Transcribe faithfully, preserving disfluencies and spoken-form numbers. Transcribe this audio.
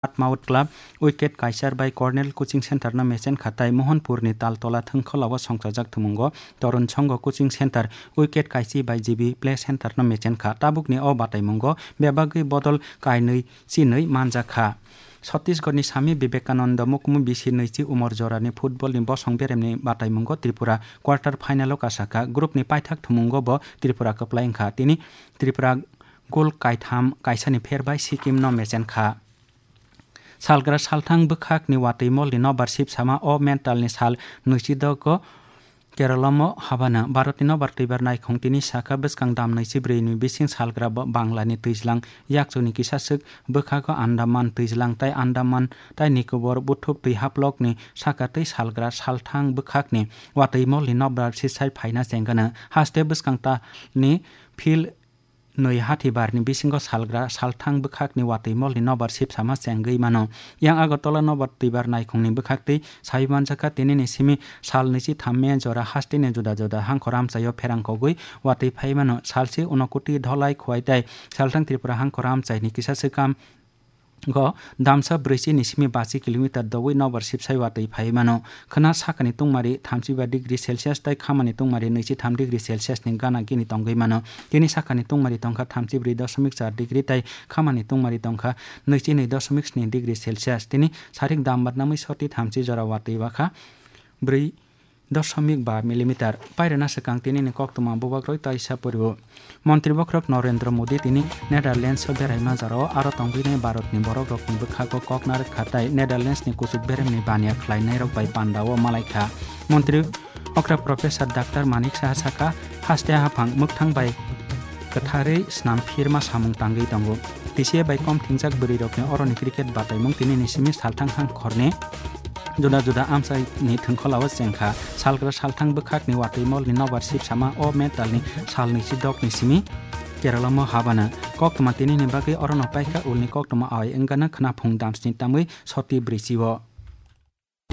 Mount Club wicket kaichar bai Cornell Coaching Center no mechen kha tai Mohanpur ni Taltola Thwngkhwla o songchajak thumungo Torun Songho Coaching Center wicket kaichi bai G B Play Center no mechen kha. Tabuk ni o bataimungo bebagwi bodol kainwi chinwi manjak kha. Chhattisgarh ni Swami Vivekananda Mukmu bisi nwichi umor jora ni football ni bosong berem ni bataimungo Tripura quarter final o kasakha. Group ni paithak thumungo bo Tripura kwplai wngkha. Tini Tripura goal kaitham kaisani pher bai Sikkim no mechen kha. Salgra salthang bwkhak ni watwi mol ni nobar sip sama o mental ni sal nwichi dogo Kerala mo habana. Bharat ni nobar twibar naikhung tini saka bwskang dam nwichi brwi ni bising salgra bo Bangla ni twijlang yakchu ni kisa swk bwkhago Andaman twijlang tai Andaman tai Nicobar buthup twi haplok ni saka twi salgra salthang bwkhak ni watwi mol ni nobar sisai phaina chengano haste bwskang ta ni phil nwi hathibar ni bisingo salgra salthang bwkhak ni watwi mol ni nobar sip sama chengwi mano. Yang Agartala nobar twibar naikhung ni bwkhak twi sawi manjakha tini ni simi sal nwichi tham me jora haste ni juda juda hangkhor amchai o pherang kogwi watwi phai mano. Salsi Unakoti Dholai Khowai tai salthang Tripura hangkhor amchai ni kisa swkang go damsa brwichi ni simi bachi kilometer dogwi nobar sipsai watwi phai mano. Khwna sakani tungmari thamchi ba degree Celsius tai khamani tungmari nwichi tham degree Celsius ni gana gini tongwi mano. Tini sakani tungmari tongkha thamchi brwi dosomik char degree tai khamani tungmari tongkha nwichi nwi dosomik sni degree Celsius. Tini sarik dam badnamwi soti thamchi jora watwi bakha brwi dosomik ba millimeter. Pairana swkang tini ni koktwma bubagroi taisa poriwo. Montri bokhorok Narendra Modi tini Netherlands o beraima jorao aro tongwinai Bharat ni borok rokni bwkhago kok narwk kha tai Netherlands ni kuchuk berem ni baniya khlainai rok bai panda o malai kha. Montri okra Professor Doctor Manik Saha sakha, haste haphang mwkthang bai kwtharwi snam phirma samung tangwi tongo. T C A bai kom thingjak bwrwi rokni oroni cricket bataimung tini ni simi salthang hangkhorni juda juda amchai ni thwngkhwla o chengkha. Salgra salthang bwkhak ni watwi mol ni nobar sip sama o mental ni sal nwichi dok ni simi Kerala mo habana. Koktwma tini ni bagwi orono paikha ulni koktwma ai wngana khwnaphung damsni tamwi soti brwichi o.